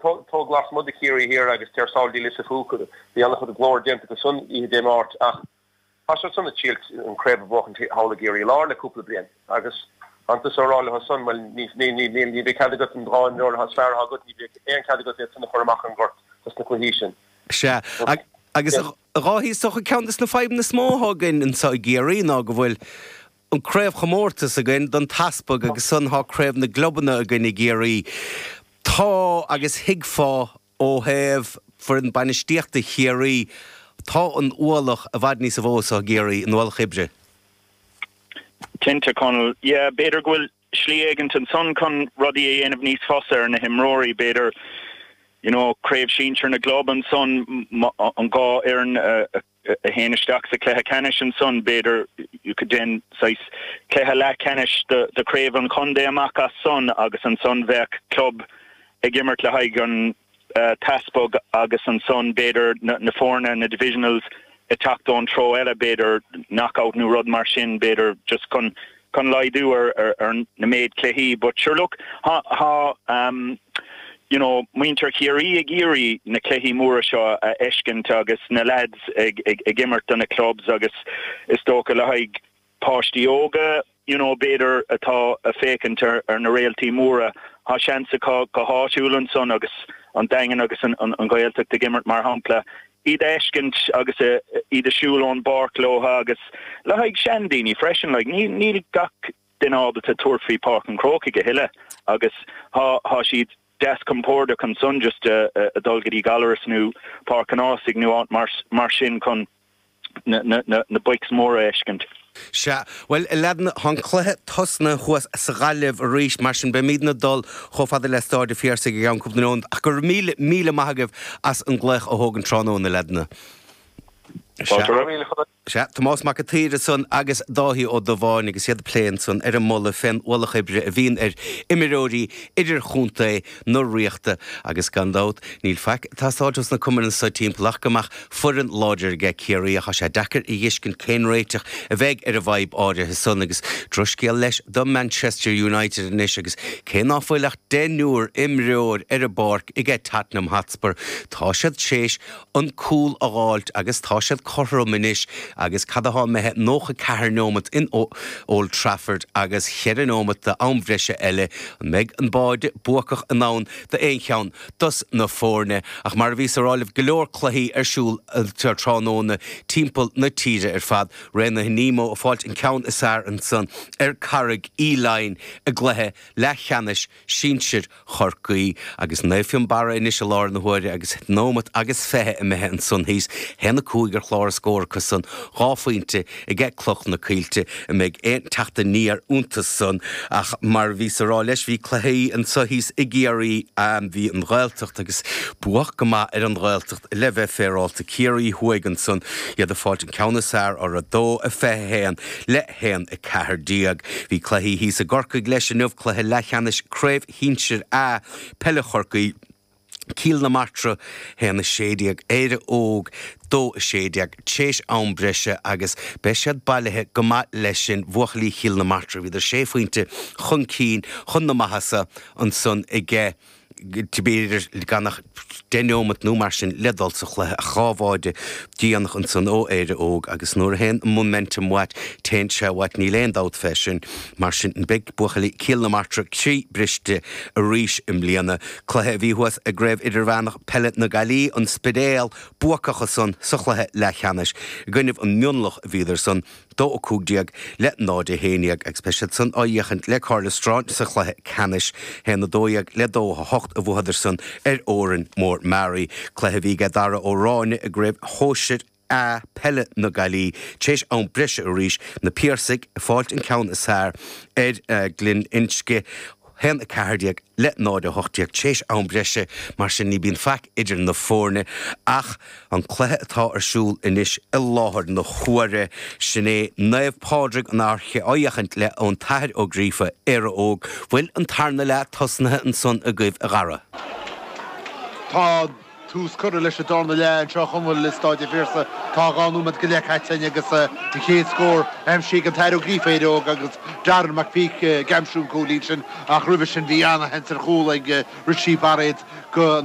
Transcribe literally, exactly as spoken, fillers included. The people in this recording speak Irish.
Tóg lasmuigh de Chiarraí Thiar agus Tír Sáile fúthu, bhí an-chuid glór déanta go san oíche Dé Máirt, ach tá siad san ag triail an craobh a bhuachan thall i gCiarraí Láir le cúpla bliain agus antas á rá leo san, well, ní ní ní ní bheidh cead agat an dá imreoir is fearr agat, ní bheidh aon cead agat iad san a chur amach an gort dos na cluichí sin. Sea, agus a Dháithí, is dócha ceann de na fadhbanna is mó atá againn anseo i gCiarraí ná go bhfuil an craobhchomórtas againn don teaspag agus ansan tá craobh na gclubanna againn i gCiarraí. Tá agus thuigfeá ó thaobh foireann bainistíochta Chiarraí, tá an ualach i bhfad níos mó anseo i gCiarraí, an ualach oibre. Cinnte, Conall, yeah, b'fhéidir go bhfuil slí éigin ansan chun rudaí a dhéanamh níos fusa ar na himreoirí, b'fhéidir you know, craobh sinsir na gclub ansan, an dhá fhoireann a théann isteach sa cluiche ceannais ansan, b'fhéidir you could déan saghas cluiche leathcheannais de, de craobh an chontae amach as san agus ansan bheadh club ag imirt le haghaidh an uh, teaspag agus ansan b'fhéidir na, na foirne na divisionals ag teacht ón treo eile, b'fhéidir knockout nó rud mar sin, b'fhéidir just chun chun laghdú ar, ar, ar na méid cluichí, but sure look, ha, ha um, you know, muintir Chiarraí ag iarraidh na cluichí móra seo a fheiscint agus na lads ag, ag, ag imirt do na clubs agus is dócha le haghaidh páistí óga, you know, b'fhéidir atá ag féachaint ar, ar na réaltaí móra, tá seans acu go háitiúil ansan agus an Daingean agus an, an, an Ghaeltacht ag imirt mar shampla, iad a fheiscint agus iad ag siúl ón bpáirc leo agus le haghaidh seandaoine freisin, like, ní, níl gach duine ábalta tabhairt faoi Páirc an Chrócaigh a thuilleadh agus tá, tá siad deas compordach ansan just a, a, a dul go dtí Gallarus nó Páirc an Ásaigh nó áit mar, mar sin chun na, na, na, na boics móra a fheiscint. Sea, bhuel, a leaideanna, tá an cluiche tosnaithe thuas sa Ghaillimh arís, mar sin beimidne ag dul chomh fada le Stáid an Phiarsaigh i gceann cúpla nóiméad, ach go raibh míle, míle maith agaibh as an glaoch a thógaint tráthnóna, a leaideanna. Sea, Tomás Mac an tSaoir ansan agus Dáithí Ó Dubháin agus iad ag plé ansan ar an moladh fén ualach oibre a bhíonn ar imreoirí idirchontae na Ríochta agus gan dabht níl faic ag teastáilt ós na cumainn anso timpeall ach go mbeadh foireann láidir aige Ciarraí ach tá sé deacair a fheiscint cén réiteach a bheidh ar an bhfadhb áirithe san agus drochscéal leis do Manchester United anois agus cé ná fuil ach deichniúr imreoir ar an bpáirc aige Tottenham Hotspur tá siad théis an cúl a dh'fháilt agus tá siad cothrom anois agus cad atá imithe nócha ceathair nóimeat in Old Trafford agus cheithre nóimeat d'am bhreise eile an mbeidh an báide buacach in ann d'aon cheann dos na foirne ach mar a bhíos ag rá libh go leor cluichí ar siúl tráthnóna timpeall na tíre ar fad Raonaithe Nemo ag fáilt an ceann is fearr ansan ar Carraig Uí Leighin i gcluiche leathcheannais sinsir Chorcaí agus Naomh Fionnbarra anois i láthair na huaire agus nóimeat agus fiche imithe ansan thíos haon a cúig ar chlár a scór acu san dhá phointe aige Cloch na Coillte an mbeidh aon teacht aniar iontu san ach mar bhíos ag rá leis bhí cluichí anso thíos i gCiarraí bhí an Ghaeltacht agus buach go maith ar an Ghaeltacht le bheith féaráilte Ciarraí thuaidh ansan iad ag fáilt an ceann is fearr ar a dó a fiche haon le haon a ceathair déag. Bhí cluichí thíos i gCorcaigh leis inniu cluiche leathcheannais Craobh Shinsir A Peile Chorcaí Cill na Martra haon a sé déag Éire Óg dó a sé déag théis am breise agus beidh siad bailithe go maith leis sin buachaillí Chill na Martra bhíodar sé phointe chun cinn chun na maitheasa ansan aige b'fhéidir gan ach deich nóimeat nó mar sin le dul sa chluiche a dhá bháide déanach ansan ó Éire Óg agus nuair a théann momentum uait téann sé uait níl aon dabht fé sin mar sin beidh buachaillí Cill na Martra croí briste arís i mbliana cluiche a bhí thuas i gCraobh Idirmheánach Peile na Gaillimhe an Spidéal buacach ansan sa chluiche leathcheannais i gcoinnibh an Mionlach a bhíodar san dó a cúig déag le náid a haon déag agus beidh siad san á fhéachaint le Caherlistrane sa chluiche ceannais haon a dó dhéag le dó a hocht a bhuadar san ar Órán Mór Meáraí cluiche a bhí aige Dara Ó Ráinne i gCraobh Shóisir A Peile na Gaillimhe théis am breise arís na Piarsaigh ag fáilt an ceann is fearr ar uh, Ghlinn Uisce haon a ceathair déag le náid a hocht déag théis am breise mar sin ní bíonn faic idir na foirne ach an cluiche atá ar siúl anois i láthair na huaire sin é Naomh Pádraig an Fhairche á fhéachaint le an tAthair Ó Gríofa Éire Óg bhfuil an tarna leath tosnaithe ansan agaibh a Dhara. Tá tús curtha leis an darna leath anseo chumhfuil le Stáid an Phiarsaigh tá dhá nóiméad go leith caite agus an chéad scór aimsithe ag an tAthair Ó Gríofa Éire Óg agus Darren McPeak ag aimsiú an cúilín sin ach roimhe sin bhí an-sheans ar chúl ag Richie Barrett go an